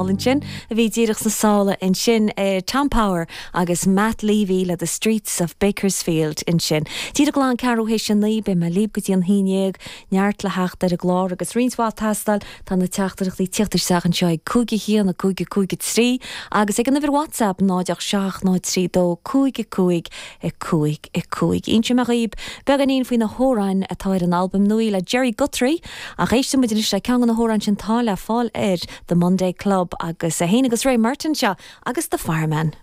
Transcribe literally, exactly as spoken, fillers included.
Ansin a bhí díreach sna sála ansin eh, Tom Power agus Matt Levy le the Streets of Bakersfield ansin. Díreach glan ceathrú théis a naoi beidh mé libh go dtí an haon déag neart le theacht ar an gclár agus roinnt mhaith ag teastáil tá na teachtaireachtaí ag teacht isteach anseo ag cúig a haon a cúig a cúig a trí agus ag an uimhir WhatsApp náid seacht náid trí dó cúig a cúig a cúig a cúig. Inseoidh mé daoibh beagáinín faoi na hamhráin atá ar an albam nua le Jerry Guthrie ach éistfidh muid le ceann de na hamhráin sin atá le fáil ar The Monday Club agus é féin agus Ray Martin seo agus The Fireman.